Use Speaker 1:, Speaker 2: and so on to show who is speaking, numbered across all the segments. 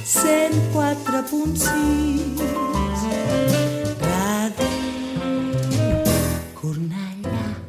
Speaker 1: 104.6 Ràdio Cornellà.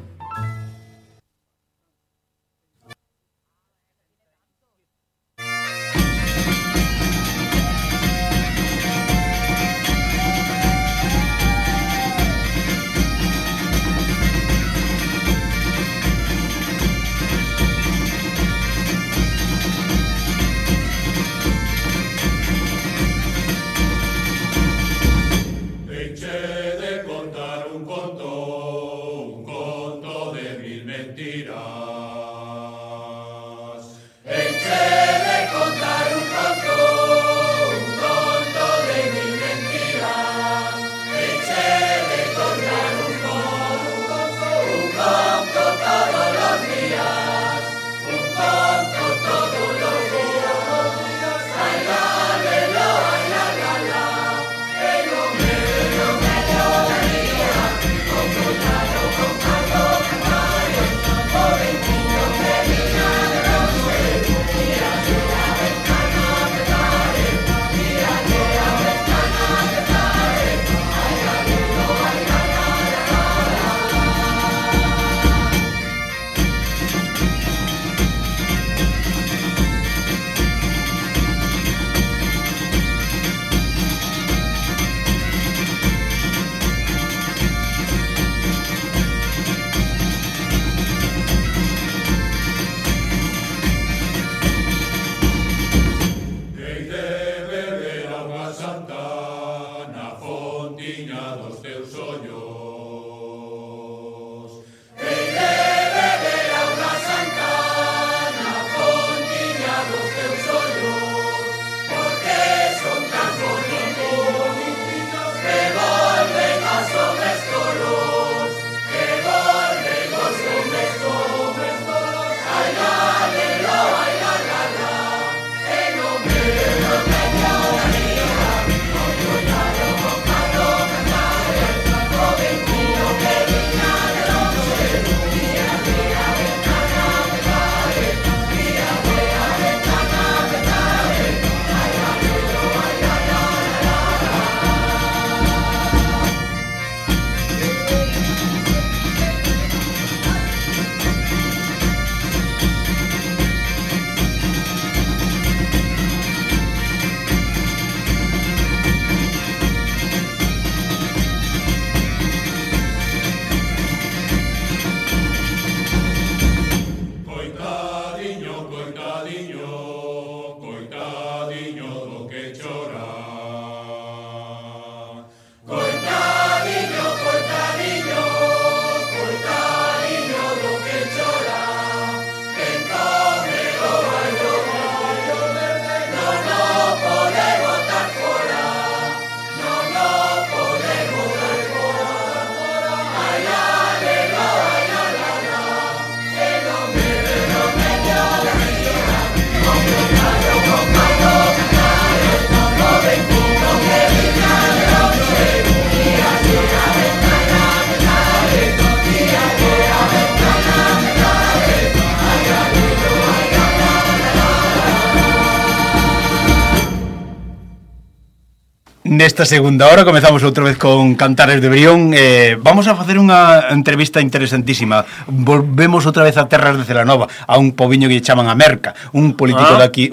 Speaker 2: Nesta segunda hora comezamos outra vez con Cantares de Brión. Vamos a facer unha entrevista interesantísima. Volvemos outra vez a terras de Celanova, a un poviño que chaman a Merca, un político de aquí,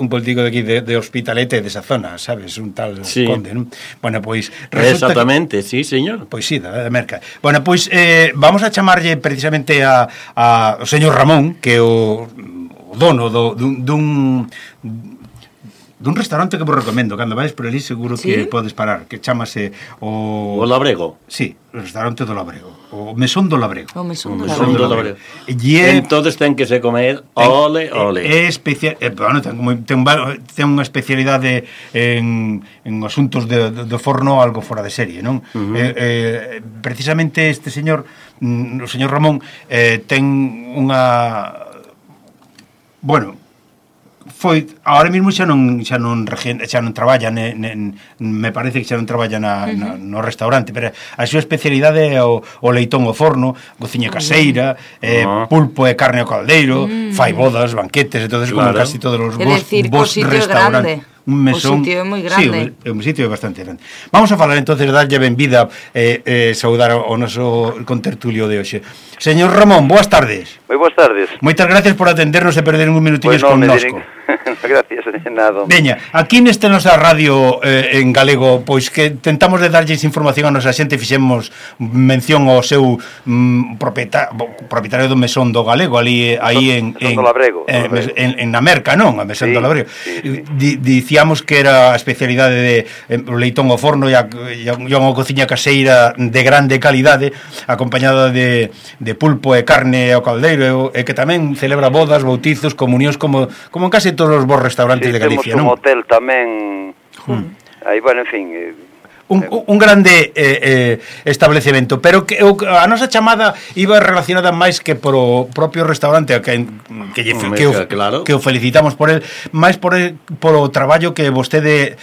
Speaker 2: de Hospitalete, desa zona, sabes, un tal sí. Conde, non? Bueno, pois
Speaker 3: exactamente, sí, señor.
Speaker 2: Pois sí, da Merca. Bueno, pois vamos a chamarlle precisamente a o señor Ramón, que é o dono dun restaurante que vos recomendo. Cando vais por ali seguro que ¿sí? Podes parar, que chamase o
Speaker 3: Labrego.
Speaker 2: Sí, o restaurante do Labrego, o Mesón do Labrego.
Speaker 3: O Mesón do Labrego. Entonces ten que se comer ole.
Speaker 2: É especial, bueno, ten unha especialidade en asuntos de forno algo fora de serie, non? Precisamente este señor, o señor Ramón, ten unha... Bueno, foi ahora mesmo xa non traballa me parece que xa non traballa no restaurante, pero a súa especialidade é o leitón ao forno, cociña caseira, pulpo e carne ao caldeiro, fai bodas, banquetes e todo eso, claro. Como casi todos os bons restaurantes. un mesón.
Speaker 4: O sitio é moi grande.
Speaker 2: Sí, un sitio bastante grande. Vamos a falar entonces, darlle benvida saudar ao noso contertulio de hoxe. Señor Ramón, boas tardes.
Speaker 5: Moi boas tardes.
Speaker 2: Moitas gracias por atendernos e perder un minutiños
Speaker 5: Pues
Speaker 2: connosco.
Speaker 5: Gracias, nada.
Speaker 2: Veña, aquí nesta nosa radio en galego, pois que tentamos de darlles información a nosa xente, fixemos mención ao seu propietario do mesón do galego, ali aí en
Speaker 5: do Labrego,
Speaker 2: en na Merca, non? A mesón
Speaker 5: sí,
Speaker 2: do Labrego.
Speaker 5: Sí.
Speaker 2: Dicíamos que era a especialidade de leitón ao forno e unha cociña caseira de grande calidade, acompañada de pulpo e carne ao caldeiro, e que tamén celebra bodas, bautizos, comunións como en case todos os bons restaurantes de Galicia, non?
Speaker 5: Temos un hotel tamén. Aí, bueno, en fin,
Speaker 2: un grande establecemento, pero que a nosa chamada iba relacionada máis que pro propio restaurante que o felicitamos por el, máis por o traballo que vostede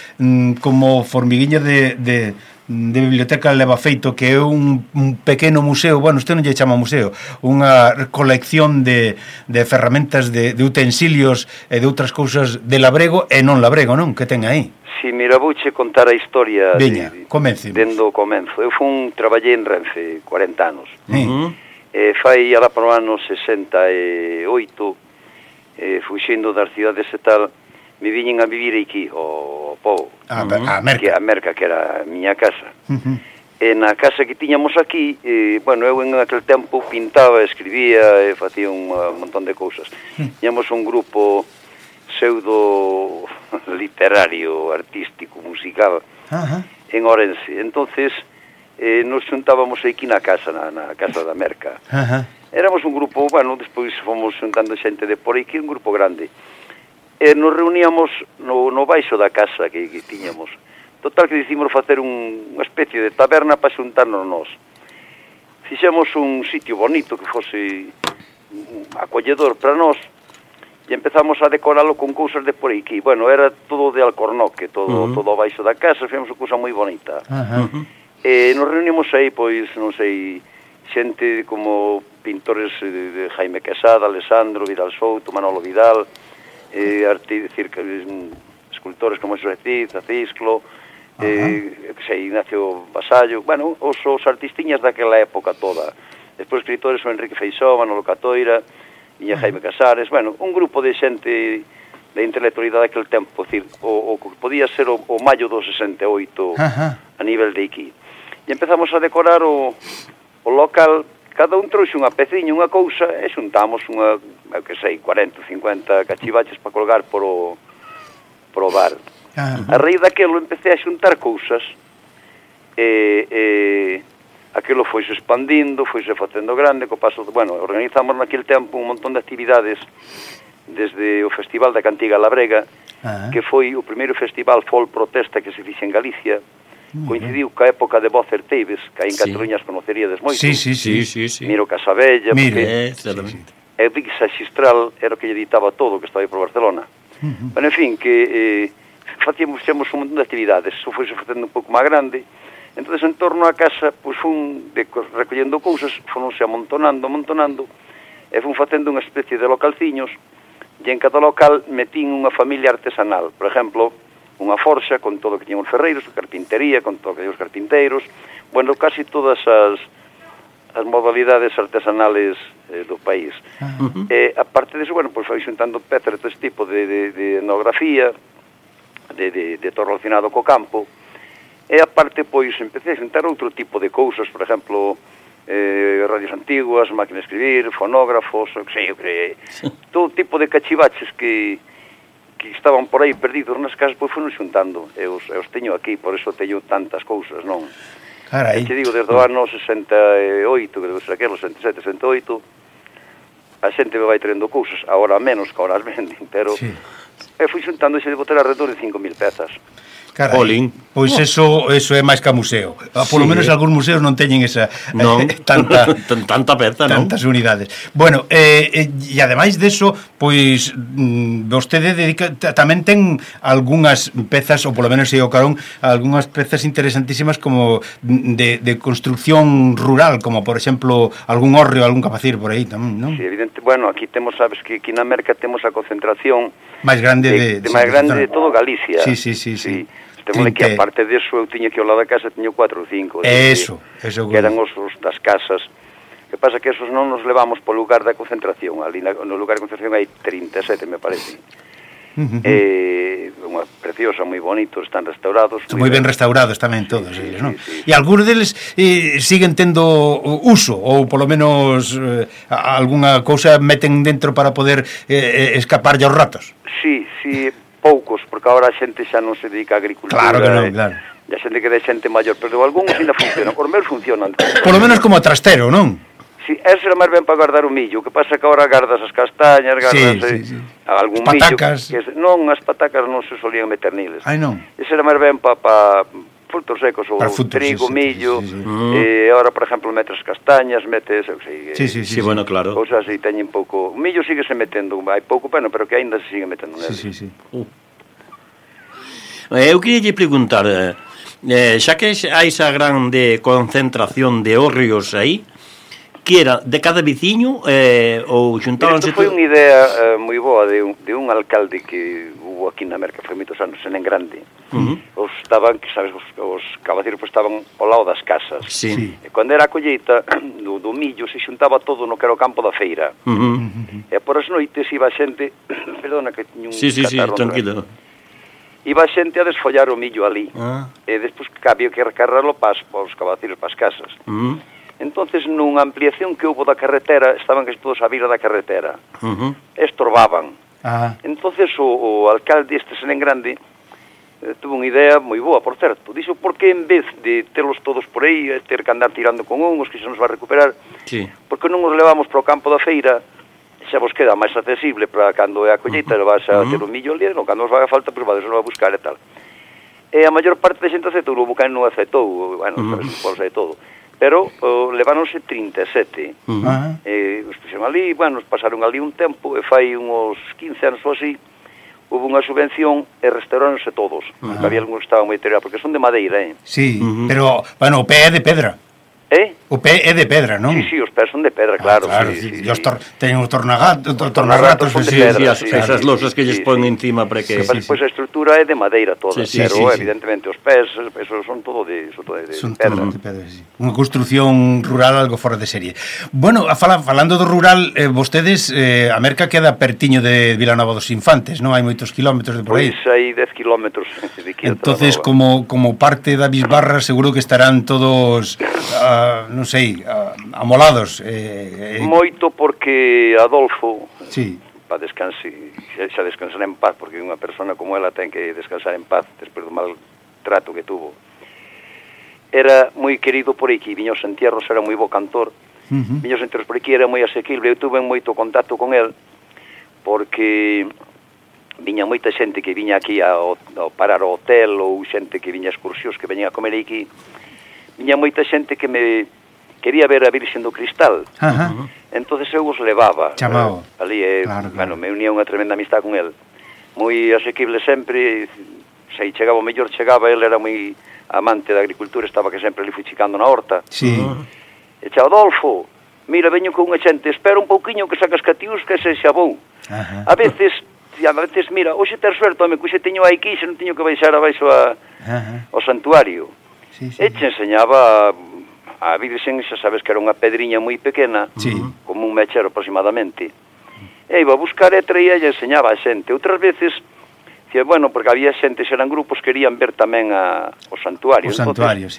Speaker 2: como formiguinha de biblioteca leva feito, que é un pequeno museo, bueno, isto non lle chama museo, unha colección de ferramentas, de utensilios e de outras cousas de labrego e non labrego, non? Que ten aí?
Speaker 5: Si, mira, vouche contar a historia.
Speaker 2: Veña, comencemos.
Speaker 5: Dendo o comenzo. Eu traballei en Renfe 40 anos. Fai alá para o ano 68, fuxindo das cidades e tal, me viñen a vivir aquí, ao povo.
Speaker 2: A Merca.
Speaker 5: A Merca, que era a miña casa. E na casa que tiñamos aquí, bueno, eu en aquel tempo pintaba, escribía e facía un montón de cousas. Tiñamos un grupo pseudo literario, artístico, musical, en Ourense. Entonces, nos xuntábamos aquí na casa da Merca. Éramos un grupo, bueno, despois fomos xuntando xente de por aquí, un grupo grande. Nos reuníamos no baixo da casa que tiñamos. Total que decidimos facer unha especie de taberna para xuntarnos nós. Fixemos un sitio bonito que fose acolledor para nós e empezamos a decoralo con cousas de por aquí. Bueno, era todo de alcornoque, todo baixo da casa, fixemos unha cousa moi bonita. Nos reunimos aí, pois, non sei, xente como pintores de Jaime Quesada, Alessandro, Vidal Souto, Manolo Vidal, escultores como Xosé Cid, Acisclo, Ignacio Vasallo, bueno, os artistiñas daquela época toda. Despois escritores son Enrique Feixó, Manolo Catoira, Iña Jaime Casares, bueno, un grupo de xente de intelectualidade daquele tempo, decir, o que podía ser o maio do 68 a nivel de aquí. E empezamos a decorar o local. Cada un trouxe unha peciña, unha cousa, e xuntamos eu que sei, 40, 50 cachivaches para colgar por o bar. A raíz daquelo empecé a xuntar cousas, aquilo foise expandindo, foise facendo grande, co paso, bueno, organizamos naquele tempo un montón de actividades, desde o Festival da Cantiga Labrega, que foi o primeiro festival folk protesta que se fixe en Galicia. Coincidiu ca época de Vocer Teives, que aí en Cataluña as conoceríades moito.
Speaker 2: Sí.
Speaker 5: Miro Casabella, Epic Xistral era o que lle editaba todo, que estaba aí por Barcelona. Bueno, en fin, que facíamos un montón de actividades, eso foi facendo un pouco máis grande. Entonces, en torno á casa, pois fun recollendo cousas, fonse amontonando, e fun facendo unha especie de localciños, e en cada local metín unha familia artesanal. Por exemplo, unha forxa con todo o que tiñan os ferreiros, carpintería con todo o que tiñan os carpinteiros, bueno, casi todas as modalidades artesanales do país. A parte disso, bueno, pois foi xuntando pezas de este tipo de etnografía, de todo relacionado co campo, e a parte, pois, empecé a xuntar outro tipo de cousas, por exemplo, radios antiguas, máquinas de escribir, fonógrafos, todo tipo de cachivaches que estaban por aí perdidos nas casas, pois foron xuntando. Eu os teño aquí, por eso teño tantas cousas, non?
Speaker 2: Carai.
Speaker 5: Te digo, desde o ano 68, que debe ser aquelo, 67, 68, a xente me vai traendo cousas, agora menos, que agora as venden, pero fui xuntando e se debo ter alrededor de 5.000 pezas.
Speaker 3: Olín.
Speaker 2: Pois eso é máis que museo. Polo menos algúns museos non teñen esa
Speaker 3: tanta peza, non?
Speaker 2: Tantas unidades. Bueno, e ademais deso, pois vostede dedica tamén ten algunhas pezas, ou polo menos o Carón, algunhas pezas interesantísimas como de construcción rural, como por exemplo algún hórreo, algún capacir por aí tamén, non?
Speaker 5: Sí, evidente. Bueno, aquí temos, sabes que aquí na Merca temos a concentración
Speaker 2: máis grande
Speaker 5: máis grande de todo Galicia.
Speaker 2: Sí.
Speaker 5: Temos que, aparte deso, eu tiña que ao lado da casa, tiño 4 ou 5.
Speaker 2: Eso.
Speaker 5: Que eran os das casas. Que pasa que esos non nos levamos po lugar da concentración. Ali no lugar de concentración hai 37, me parece. Unha preciosa, moi bonitos, están restaurados.
Speaker 2: Moi ben restaurados tamén todos eles, non?
Speaker 5: Sí.
Speaker 2: E algúns deles siguen tendo uso, ou polo menos algunha cousa meten dentro para poder escaparlle aos ratos.
Speaker 5: Sí, poucos, porque agora a xente xa non se dedica á agricultura.
Speaker 2: Claro que non, claro.
Speaker 5: E a xente que é xente maior, pero algúns ainda funcionan. Os meus funcionan.
Speaker 2: Por lo menos como trastero, non?
Speaker 5: Sí, eso era máis ben para guardar o millo. O que pasa que agora gardas as castañas, gardas algún
Speaker 2: patacas.
Speaker 5: Millo. Non, as patacas non se solían meter niles.
Speaker 2: Ai, non.
Speaker 5: Eso era máis ben para frutos secos, ou trigo, millo. E agora, por exemplo, metes castañas, metes...
Speaker 2: Sí,
Speaker 5: bueno, claro. Cousas así, teñen pouco... O millo síguese metendo, hai pouco, pero que aínda se sigue metendo nele.
Speaker 2: Sí.
Speaker 3: Eu queria preguntar, xa que hai esa grande concentración de hórreos aí, que era de cada veciño ou xuntábanse...
Speaker 5: Isto foi unha idea moi boa de un alcalde que hubo aquí na Merca, foi moitos anos, en grande. Os estaban, que sabes, os cabaceiros estaban ao lado das casas.
Speaker 3: Sí.
Speaker 5: E cando era a colleita do millo se xuntaba todo no que era o campo da feira. E por as noites iba a xente... Perdona que tiño un catarro.
Speaker 3: Sí, tranquilo.
Speaker 5: Iba a xente a desfollar o millo ali. E despois había que recarrarlo para os cabaceiros, para as casas. Entonces, nunha ampliación que houve da carretera, estaban casi todos á vira da carretera. Estorbaban. Entonces, o alcalde este Senén Grande tuvo unha idea moi boa, por certo. Dixo, por que en vez de terlos todos por aí, ter que andar tirando con uns, que se nos va a recuperar, porque non os levamos para o campo da feira, xa vos queda máis accesible para cando é a colleita, vas a ter o millo ali, cando os vai a falta, pois vades a buscar e tal. E a maior parte da xente aceptou, o Bucán non aceptou, bueno, sabes, de todo. Pero leváronse 37. Os puxeron ali, bueno, pasaron ali un tempo, e fai uns 15 anos ou así, houve unha subvención e restauráronse todos. Había algúns que estaban moi deteriorados, porque son de madeira,
Speaker 2: Sí, pero, bueno, o pé é de pedra. O pé é de pedra, non?
Speaker 5: Sí, os pés son de pedra, claro.
Speaker 2: Sí. Teñen os tornagatos,
Speaker 5: son de pedra.
Speaker 3: Esas losas que lles ponen encima para que...
Speaker 5: Pois a estrutura é de madeira toda, pero evidentemente os pés, esos son todo de pedra.
Speaker 2: Son todo de pedra, sí. Unha construción rural algo fora de serie. Bueno, falando do rural, vostedes, a Merca queda pertiño de Vilanova dos Infantes, non? Hai moitos kilómetros de por aí.
Speaker 5: Pois hai 10 kilómetros de aquí.
Speaker 2: Entonces, como parte da Bisbarra, seguro que estarán todos... non sei, amolados.
Speaker 5: Moito porque Adolfo,
Speaker 2: para
Speaker 5: xa descansar en paz, porque unha persona como ela ten que descansar en paz despois do mal trato que tuvo. Era moi querido por aquí, viña aos entierros, era moi bo cantor, viña aos entierros por aquí, era moi asequible, eu tuve moito contacto con el, porque viña moita xente que viña aquí a parar ao hotel, ou xente que viña a excursións, que veña a comer aquí. Viña moita xente que me quería ver a Virxen do Cristal. Entonces eu os levaba.
Speaker 2: Chamao.
Speaker 5: Ali, bueno, me unía unha tremenda amistad con el. Moi asequible sempre, se chegaba o mellor chegaba, el era moi amante da agricultura, estaba que sempre ali fuchicando na horta. E xa, Adolfo, mira, veño con unha xente, espera un pouquiño que sacas catiús que se xa vou. A veces, mira, hoxe ter suerte, home, que hoxe teño aquí, xe non teño que baixar abaixo ao santuario. E te enseñaba a Virxen, xa sabes que era unha pedriña moi pequena, como un mechero aproximadamente. E iba a buscar e traía e enseñaba a xente. Outras veces, bueno, porque había xente, xeran grupos, querían ver tamén o santuario.
Speaker 2: O santuario,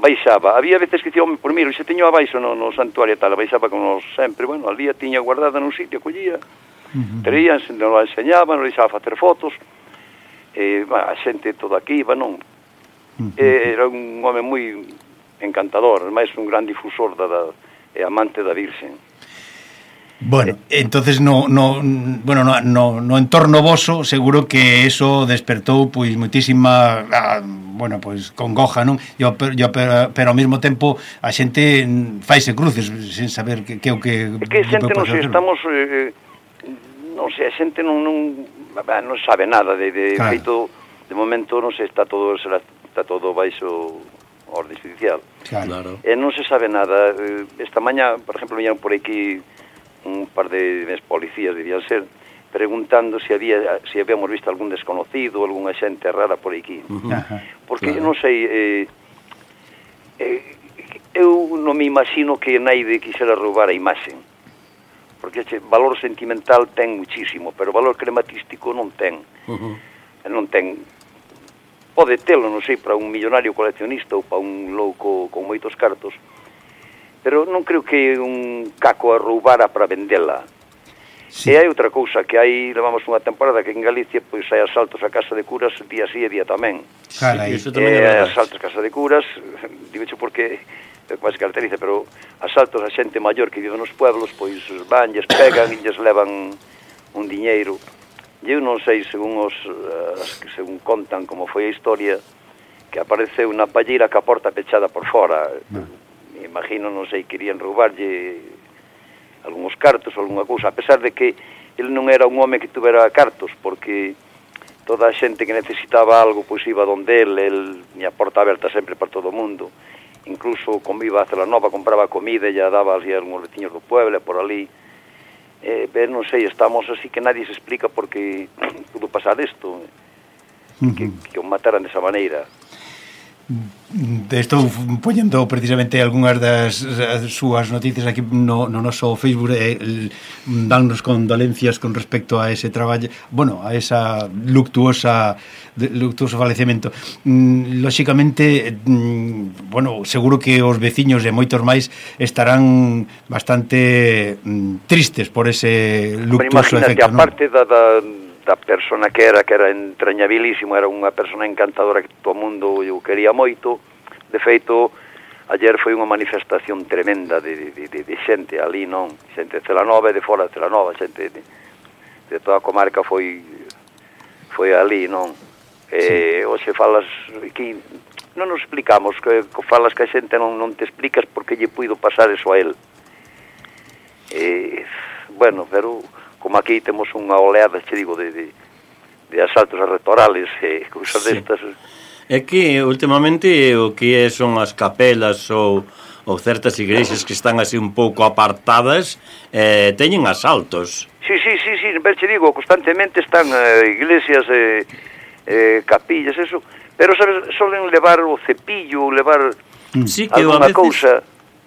Speaker 5: Baixaba. Había veces que dicía, por miro, xe teño abaixo no santuario tal, baixaba como sempre, bueno, al día tiña guardada nun sitio, collía, traían, nos la enseñaban, nos deixaba facer fotos, a xente todo aquí iba, non? Era un home moi encantador, máis un gran difusor e amante da Virxen.
Speaker 2: Bueno, entonces no entorno voso seguro que eso despertou pois moitísima congoja, non? Pero ao mesmo tempo a xente faise cruces sen saber que o que
Speaker 5: é que a xente non sei, estamos non sei, a xente non sabe nada de feito, de momento non sei, está todo baixo orde judicial.
Speaker 2: Claro.
Speaker 5: E non se sabe nada. Esta mañá, por exemplo, viñeron por aquí un par de policías, debían ser, preguntando si habíamos visto algún desconocido, algunha xente rara por aquí. Porque, non sei, eu non me imagino que naide quixera roubar a imaxe. Porque valor sentimental ten muchísimo, pero valor crematístico non ten. Non ten. Pode telo, non sei, para un millonario coleccionista ou para un louco con moitos cartos, pero non creo que un caco a roubara para vendela. Sí. E hai outra cousa, que levamos unha temporada que en Galicia pois hai asaltos a casa de curas día sí e día tamén.
Speaker 2: Carai.
Speaker 5: Asaltos a casa de curas, digoche porque é máis caracteriza, pero asaltos a xente maior que vive nos pueblos, pois van, lles pegan e lles levan un diñeiro. Eu non sei, según contan como foi a historia, que apareceu unha palleira ca porta pechada por fora. Imagino, non sei, querían roubarlle algúns cartos ou algunha cousa, a pesar de que ele non era un home que tuvera cartos, porque toda a xente que necesitaba algo, pois iba donde el tiña a porta aberta sempre para todo o mundo. Incluso, como iba a Celanova, compraba comida e ya daba así a algúns veciños do pueblo, por ali. Non sei, estamos así que nadie se explica por que pudo pasar isto, que o mataran desa maneira.
Speaker 2: Estou poñendo precisamente algunhas das súas noticias aquí no noso Facebook, dannos condolencias con respecto a ese traballo, a esa luctuoso falecemento. Lóxicamente, seguro que os veciños e moitos máis estarán bastante tristes por ese luctuoso efecto.
Speaker 5: Imagínate, aparte da persona que era entrañabilísimo, era unha persona encantadora que todo o mundo o quería moito. De feito, ayer foi unha manifestación tremenda de xente ali, non? Xente de Celanova e de fora de Celanova, xente de toda a comarca foi ali, non? Hoxe falas aquí, non nos explicamos, que falas que a xente non te explicas porque lle puido pasar eso a él. Pero como aquí temos unha oleada, che digo, de asaltos a rectorales e cousas destas.
Speaker 3: É que últimamente o que son as capelas ou certas igrexas que están así un pouco apartadas teñen asaltos.
Speaker 5: Sí, che digo, constantemente están iglesias, capillas, eso, pero sabes, solen levar o cepillo, levar alguna cousa.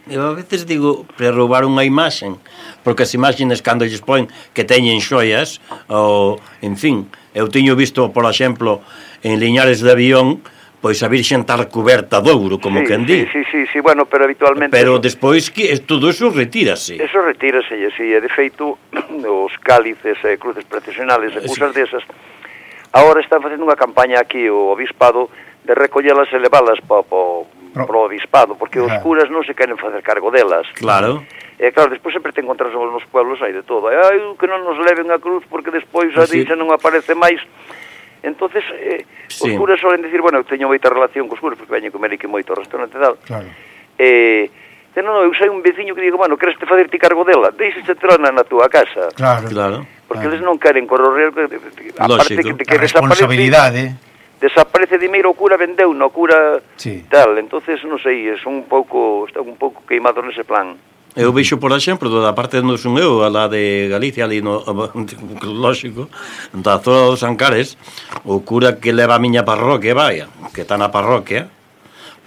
Speaker 3: Eu a veces digo, para roubar unha imaxen, porque as imaxes cando lles poen que teñen xoias, ou, en fin, eu teño visto, por exemplo, en Liñares de Avión, pois a Virxen estar coberta de ouro, como quen di.
Speaker 5: Sí, pero habitualmente...
Speaker 3: Pero despois que todo eso retírase.
Speaker 5: Eso retírase, sí, e de feito, os cálices, cruces procesionales, e cousas desas, agora están facendo unha campaña aquí, o obispado, de recollelas e levalas pro obispado, porque os curas non se queren facer cargo delas.
Speaker 3: Claro.
Speaker 5: E claro, despois sempre te encontras nos pueblos aí de todo. Que non nos leven a cruz porque despois a dixa non aparece máis. Entonces, os curas solen decir, eu teño moita relación cos curas, porque veñen comer aquí moito ao restaurante e tal.
Speaker 2: Claro.
Speaker 5: Eu sei un veciño que digo, queres te facer ti cargo dela? Deixe tela na túa casa.
Speaker 2: Claro.
Speaker 5: Porque eles non queren correr, aparte que
Speaker 2: responsabilidade.
Speaker 5: Desaparece dimeiro, o cura vendeu, no cura tal, entonces non sei, está un pouco queimado nese plan.
Speaker 3: Eu vexo, por exemplo, da parte onde son eu, a la de Galicia, ali no lógico, da zona dos Ancares, o cura que leva a miña parroquia, que está na parroquia,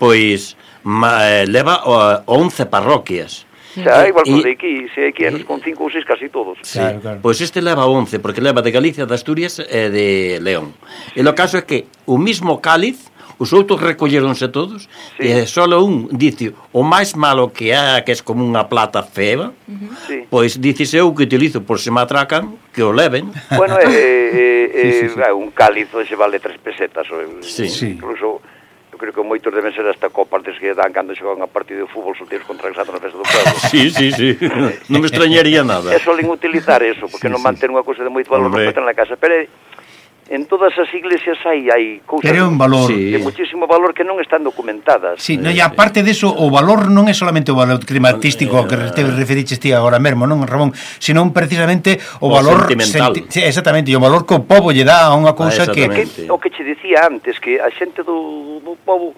Speaker 3: pois leva 11 parroquias.
Speaker 5: Igual que de aquí, se aquí con 5 ou 6 casi todos.
Speaker 2: Claro.
Speaker 3: Pois este leva 11, porque leva de Galicia, de Asturias e de León. E o caso é que o mismo cáliz, os outros recolleronse todos, e só un dice, o máis malo que é como unha plata fea, pois dices eu que utilizo por se me atracan, que o leven.
Speaker 5: Un cáliz se vale 3 pesetas, incluso creo que moitos deben ser hasta copas des que dan cando xogan a partido de fútbol solteiros contra Exato na festa do pueblo.
Speaker 3: Sí. Non me extrañaría nada.
Speaker 5: É solen utilizar eso, porque non manter unha cousa de moito valor non na casa, pero en todas as iglesias hai cousas
Speaker 2: pero un valor
Speaker 5: de muchísimo valor que non están documentadas.
Speaker 2: Sí, no, e aparte deso, o valor non é solamente o valor climatístico que te referiches ti agora mesmo, non, Ramón, senón precisamente o valor
Speaker 3: sentimental.
Speaker 2: Sí, exactamente, e o valor que o pobo lle dá a unha cousa que
Speaker 5: o que che dicía antes, que a xente do pobo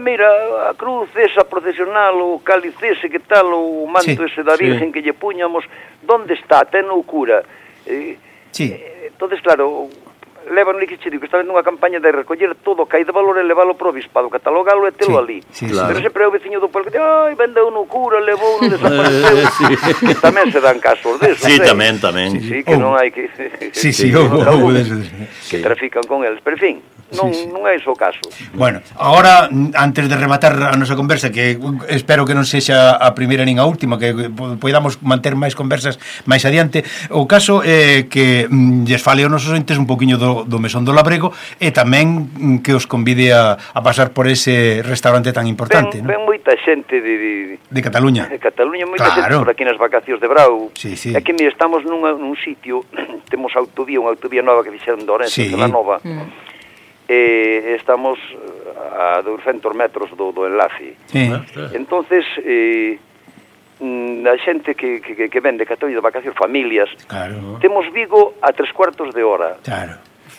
Speaker 5: mira, a cruz esa procesional, o cáliz ese, que tal, o manto ese da Virgen que lle puñamos, donde está? Ten o cura. Entonces, claro, levan que che digo, que está vendo unha campaña de recoller todo o que hai de valor e leválo pro obispado, catalogalo e telo ali. Pero sempre é o veciño do pueblo que di, vendeu no cura, levou no desapareceu. Tamén se dan casos desos.
Speaker 3: Sí, tamén.
Speaker 5: Sí, que non hai que... que trafican con eles, pero en fin, non é iso o caso.
Speaker 2: Bueno, agora, antes de rematar a nosa conversa, que espero que non sexa a primeira nin a última, que podamos manter máis conversas máis adiante, o caso é que lles fale aos nosos entes un poquinho do Mesón do Labrego e tamén que os convide a pasar por ese restaurante tan importante.
Speaker 5: Ven moita xente de
Speaker 2: Cataluña.
Speaker 5: De Cataluña, moita xente por aquí nas vacacións de Brau. Aquí estamos nun sitio, temos unha autovía nova que fixeron de Orense, de la Nova, estamos a 200 metros do enlace. Entonces, a xente que ven de Cataluña de vacacións, familias, temos Vigo a 3/4 de hora.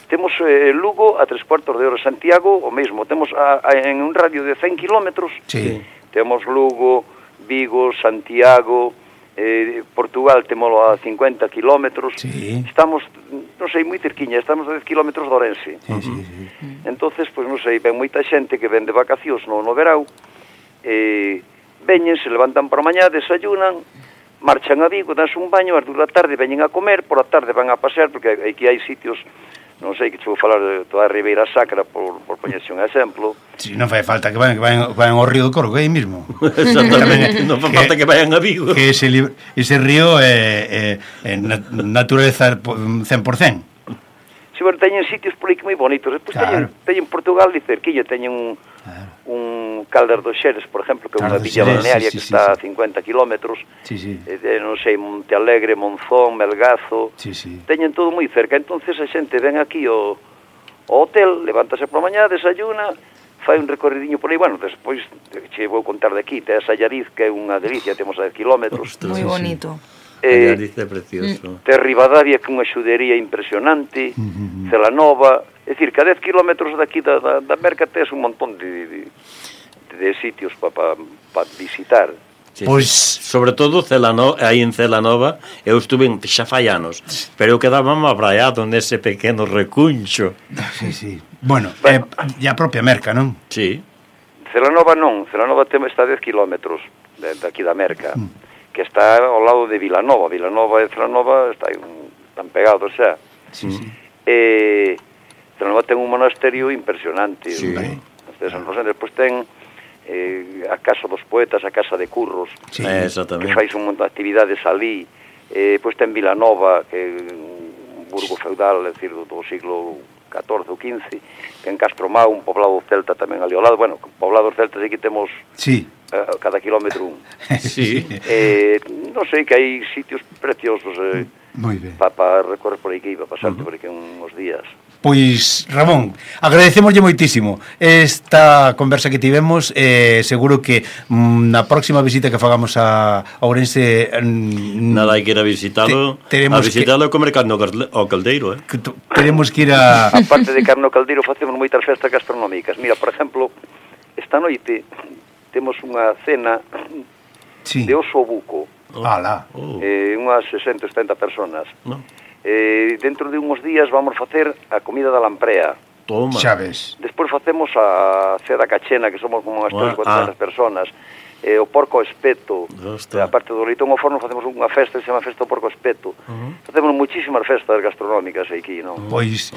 Speaker 5: Temos Lugo a 3/4 de hora, Santiago o mesmo, temos en un radio de 100 kilómetros, temos Lugo, Vigo, Santiago, Portugal temolo a 50 kilómetros, estamos, non sei, moi cerquiña, estamos a 10 kilómetros de Orense. Entonces, pois non sei, ven moita xente que ven de vacacións no verao, veñen, se levantan por a mañá, desayunan, marchan a Vigo, danse un baño, ás 2 da tarde veñen a comer, por a tarde van a pasear, porque aquí hai sitios, non sei, que te vou falar de toda a Ribeira Sacra, por poñerse un exemplo.
Speaker 2: Si, non fai falta que vayan ao río do Corgo, aí mismo.
Speaker 3: Exactamente, non fai falta que vayan a Vigo.
Speaker 2: Que ese río é naturaleza 100%.
Speaker 5: Si, bueno, teñen sitios por aí que moi bonitos. Despois teñen Portugal e cerquilla, teñen un Caldas dos Xeres, por exemplo, que é unha villa balnearia que está a 50 kilómetros. Non sei, Monte Alegre, Monzón, Melgazo. Teñen todo moi cerca. Entonces a xente ven aquí ao hotel, levántase por a mañá, desayuna, fai un recorridinho por aí. Bueno, despois che vou contar de aquí, te a Allariz, que é unha delicia, temos a 10 kilómetros.
Speaker 4: Moi bonito.
Speaker 3: Allariz é precioso.
Speaker 5: Te Ribadavia, que é unha xudería impresionante, Celanova, é dicir, que a 10 kilómetros daqui da Merca tes un montón de sitios para visitar.
Speaker 3: Pois, sobre todo aí en Celanova eu estuve xa fai anos, pero eu quedaba abraiado nese pequeno recuncho.
Speaker 2: Bueno, e a propia Merca, non?
Speaker 5: Celanova non, Celanova está a 10 kilómetros daqui da Merca, que está ao lado de Vilanova. Vilanova e Celanova están pegados xa. Celanova ten un monasterio impresionante. Despois ten a Casa dos Poetas, a Casa de Curros, que fais un montón de actividades ali. Pois ten Vilanova, que é un burgo feudal, é dicir, do siglo XIV ou XV, ten Castromao, un poblado celta tamén ali ao lado. Bueno, poblados celtas aquí temos cada kilómetro un. Non sei, que hai sitios preciosos para recorrer por aquí, para pasarte por aquí uns días.
Speaker 2: Pois, Ramón, agradecemoslle moitísimo esta conversa que tivemos. Seguro que na próxima visita que fagamos a Ourense
Speaker 3: nada, hai que ir a visitalo e comer carne ao caldeiro.
Speaker 2: Tenemos que ir a...
Speaker 5: Aparte de carne ao caldeiro, facemos moitas festas gastronómicas. Mira, por exemplo, esta noite temos unha cena de oso buco. Unhas 60-70 personas. Dentro de uns días vamos facer a comida da lamprea.
Speaker 3: Toma.
Speaker 5: Despois facemos a ceda cachena, que somos como unhas 300-400 personas. O porco espeto. A parte do leitón ao forno facemos unha festa que se chama Festa do Porco Espeto. Facemos muchísimas festas gastronómicas aquí, non?
Speaker 2: Pois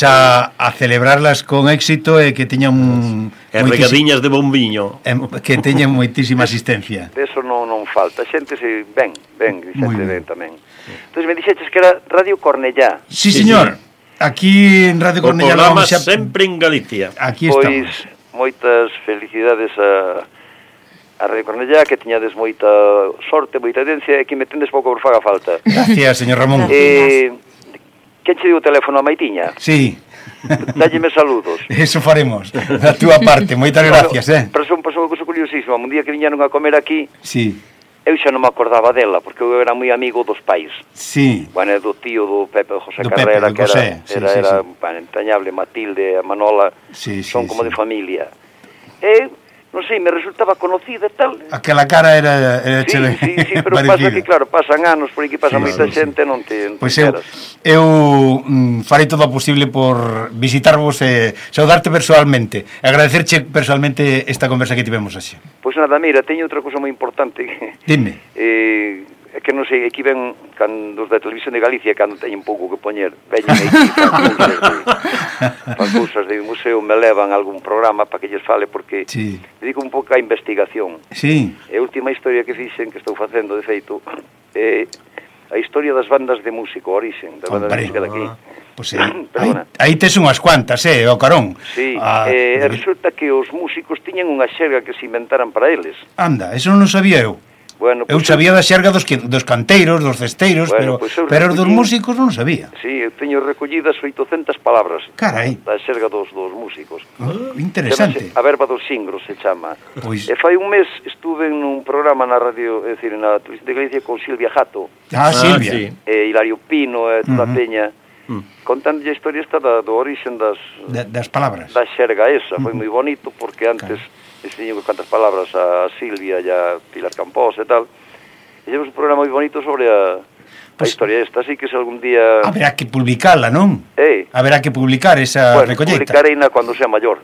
Speaker 2: a celebrarlas con éxito e que teñan
Speaker 3: regadiñas de bombiño,
Speaker 2: que teñan moitísima asistencia.
Speaker 5: Eso non falta. Xente se ven tamén. Entón me dixeches que era Radio Cornellá.
Speaker 2: Sí, señor. Aquí en Radio Cornellá
Speaker 3: o programa sempre en Galicia.
Speaker 2: Aquí estamos.
Speaker 5: moitas felicidades a Radio Cornellá, que tiñades moita sorte, moita evidencia, e que me tendes pouco por faga falta.
Speaker 2: Gracias, señor Ramón.
Speaker 5: Quen che diu o teléfono a Maitiña?
Speaker 2: Sí.
Speaker 5: Dálleme saludos.
Speaker 2: Eso faremos, da túa parte. Moitas gracias,
Speaker 5: Pasou unha cousa curiosísima. Un día que viñeron a comer aquí,
Speaker 2: Sí.
Speaker 5: eu xa non me acordaba dela, porque eu era moi amigo dos pais.
Speaker 2: Sí.
Speaker 5: Bueno, do tío do Pepe José
Speaker 2: Do
Speaker 5: Carrera,
Speaker 2: Pepe, do
Speaker 5: que
Speaker 2: José,
Speaker 5: era
Speaker 2: sí.
Speaker 5: bueno, entrañable. Matilde, a Manola, son como de familia. E, non sei, me resultaba conocida e tal.
Speaker 2: Aquela cara era
Speaker 5: Sí, pero pasa que, claro, pasan anos, por aquí pasa moita xente, non te
Speaker 2: Pois
Speaker 5: enteras.
Speaker 2: eu farei todo o posible por visitarvos e saudarte personalmente, agradecerche personalmente esta conversa que tivemos así.
Speaker 5: Pois nada, mira, teño outra cousa moi importante.
Speaker 2: Dime.
Speaker 5: É que non sei, aquí ven cando os da Televisión de Galicia, cando teñen pouco que poñer, veñen aquí para cousas de museo, me levan a algún programa para que lles fale, porque
Speaker 2: Sí.
Speaker 5: dedico un pouco a investigación.
Speaker 2: Sí.
Speaker 5: E a última historia que fixen, que estou facendo, de feito, é a historia das bandas de música, o orixen das bandas de música daqui.
Speaker 2: Pois aí tes unhas cuantas, o carón.
Speaker 5: Sí, resulta que os músicos tiñen unha xerga que se inventaran para eles.
Speaker 2: Anda, eso non sabía eu.
Speaker 5: Bueno,
Speaker 2: Eu sabía da xerga dos canteiros, dos cesteiros,
Speaker 5: Bueno,
Speaker 2: pero dos músicos non sabía.
Speaker 5: Sí, eu teño recollidas 800 palabras.
Speaker 2: Carai.
Speaker 5: Da xerga dos músicos.
Speaker 2: Interesante.
Speaker 5: Chamase A Verba dos Singros se chama.
Speaker 2: Pois...
Speaker 5: E fai un mes estuve nun programa na radio, é dicir, na Televisión de Galicia con Silvia Jato.
Speaker 2: Silvia.
Speaker 3: Sí.
Speaker 5: E Hilario Pino e toda a peña. Contando a historia esta do orixen
Speaker 2: das palabras.
Speaker 5: Da xerga esa. Foi moi bonito porque antes... Enseño cantas palabras a Silvia e a Pilar Campos e tal. E llevamos un programa moi bonito sobre a historia esta, así que se algún día...
Speaker 2: Haberá que publicala, non? Haberá que publicar esa recolleita.
Speaker 5: Publicareina cando sea maior.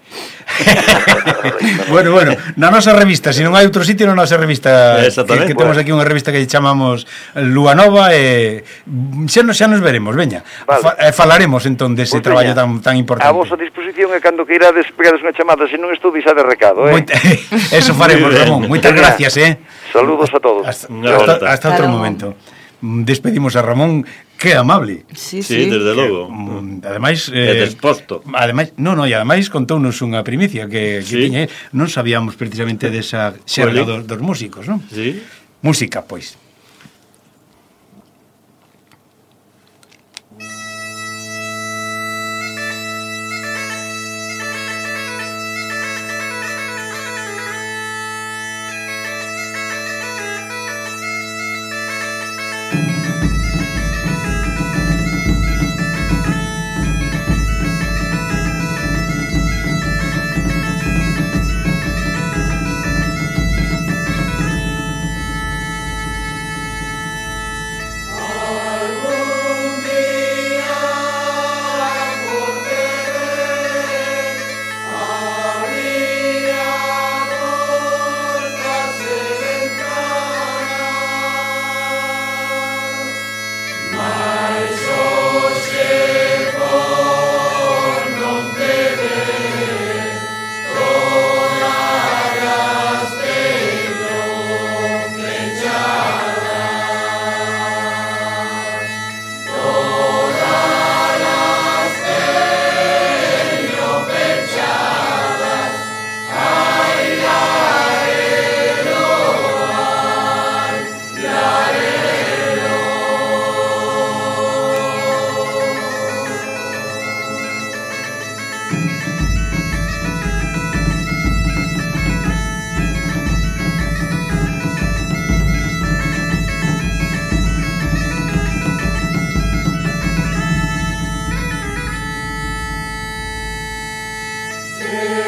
Speaker 2: Bueno, na nosa revista, se non hai outro sitio, na nosa revista, que temos aquí unha revista que chamamos Lúa Nova, e xa nos veremos, veña. Falaremos entón dese traballo tan importante.
Speaker 5: A vosa disposición é cando que irades pegades unha chamada, se non estou deixade recado,
Speaker 2: Eso faremos, Ramón. Moitas gracias,
Speaker 5: Saludos a todos.
Speaker 2: Hasta outro momento. Despedimos a Ramón, que amable.
Speaker 3: Sí, desde logo.
Speaker 2: Ademais,
Speaker 3: desposto.
Speaker 2: Ademais contounos unha primicia que tiña, non sabíamos precisamente desa xerga dos músicos, non?
Speaker 3: Sí.
Speaker 2: Música, pois.
Speaker 1: Say